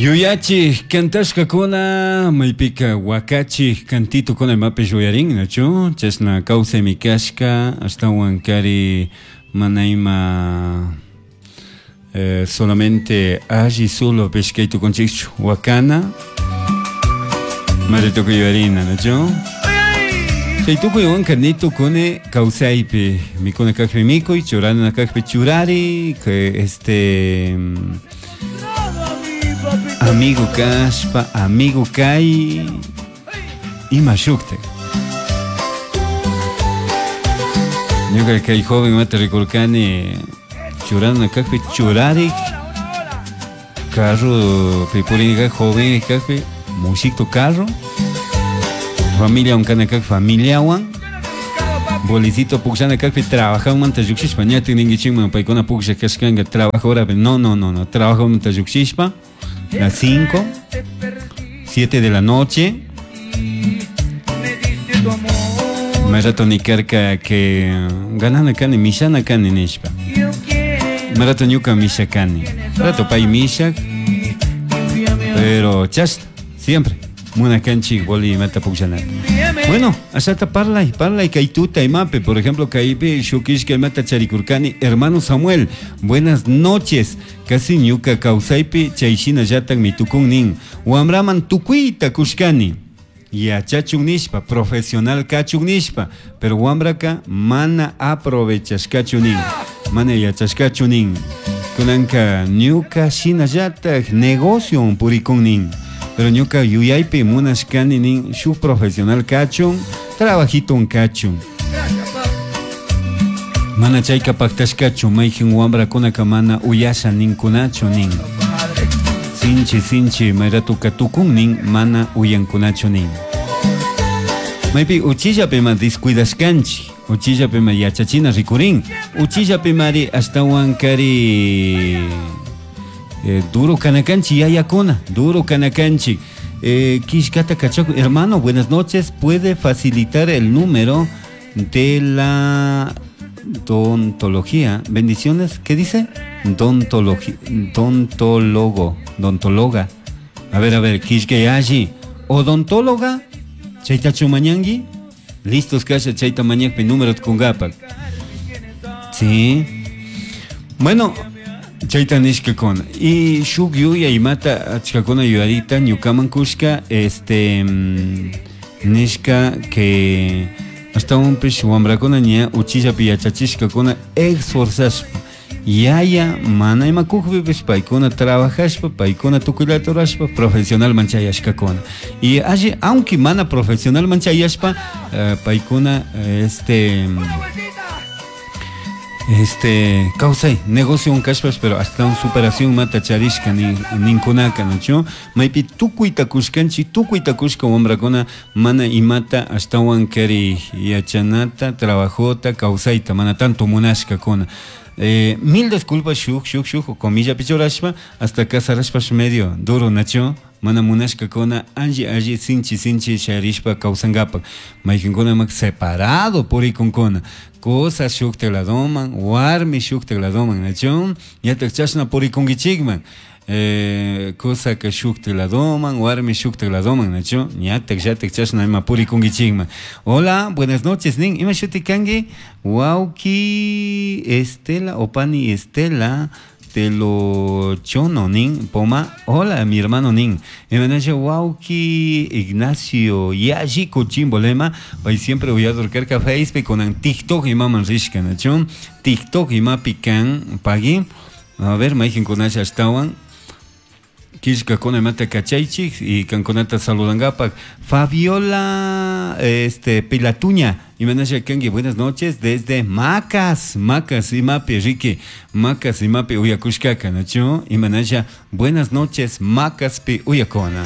Yuyachij cantashcacuna maypica huacachij cantitocuna imapish uyarin, nachu? Chashna kawsaymi kashka, ashtawan kari mana ima eh, solamente alli solo kay tukunchikchu wakana mari tukuy yuyarina, nachu? Chay tukuywanka ni tukuni kawsaypi mikuna kajpi mikuy, churana kajpi churari, que este amigo kashpa, amigo kay, ima shukta. Ñuka kay joven mata rikurkani churana kajpi churarik, carro purini kajpi joven kajpi mushiktu carro, familiawan kana kajpi familiawan, bolicito pukllana kajpi trabajanmanta llukshishpa ñatik ninkichikman paykuna pukllak kashkanka trabajo horapi no no no no trabajomanta llukshishpa las 5 7 de la noche may rato nikarka que ganana kani mishana kani nishpa may rato ñuka misha kani rato pay mishak pero chashna siempre munakanchik boli imata pukllanata bueno ashata parlay parlay kay tuta imapi por ejemplo kaypi shuk ishkay imata charikurkani hermano Samuel buenas noches casi ñuka kawsaypi chay shinallatakmi tukun nin wamraman tukuyta kushkani yachachun nishpa profesional kachun nishpa pero wamraka mana aprovechashkachu nin mana yachashkachu nin kunanka ñuka shinallatak negocio purikun nin pero ñuka yuyaypi munashkani nin shuk profesional kachun trabajiton kachun mana chayka paktashkachu mayjin wamrakunaka mana uyasha ninkunachu nin sinchi sinchi mayratuka tukun nin mana uyankunachu nin maypi uchillapima descuidashkanchik uchillapima yachachina rikurin uchillapimari ashtawan kari duro kanakanchik yayakuna duro kanakanchik kishkata kachaku hermano buenas noches puede facilitar el número de la odontología bendiciones ¿qué dice? Dontología, dontólogo, dontóloga. A ver, kishkayashi. Odontóloga, chaytachu mañangi. Listos kasha chayta mañakpi número kungapak. Sí. Bueno, chayta nishkakuna. Y shuk yuya imata achkakuna yuyarita ñukaman kushka este nishka que ashtawanpish wamrakuna ña uchillapi yachachishkakuna esforzashpa yaya mana ima kukpipish paykuna trabajashpa paykuna tukuyllata rurashpa profesionalman chayashkakuna y alli aunque mana profesionalman chayashpa paykuna este kawsay negocio kashpash pero hasta un superación mata charishka ninkunaka nachu maypi tukuyta kushkanchik tukuyta kushka wamrakuna mana imata ashtawan kari yachanata trabajota kawsayta mana tanto munashkakuna mil disculpas shuk shuk shuk comilla pichurashpa hasta casarashpash medio duro nachu mana munashkakuna alli alli sinchi sinchi sharishpa kawsankapak mayqinkuna mak separado purikunkuna cosa shukta ladoman warmi shukta ladoman nachu ñatak chashna purikunkichikman cosa que shukta ladoman warmi shukta ladoman nachu ñatak llatak chashna ima purikunkichikman hola buenas noches nin ima shuti kanki wawki Estela opani Estela Telochono nin Poma hola mi hermano nin imanasha wawki Ignacio yalli kuchimbolema pay siempre uyadurkarka Facebook kunan TikTok imaman rishka nachu TikTok imapi kan pagui a ver mayqinkunasha ashtawan killkakuna imata kachaychik y kankunata saludangapak Fabiola Pilatuña imanasha kanki buenas noches desde Macas Macas imapi Ricky Macas imapi uyakushkaka nachu imanasha buenas noches Macaspi uyakuna.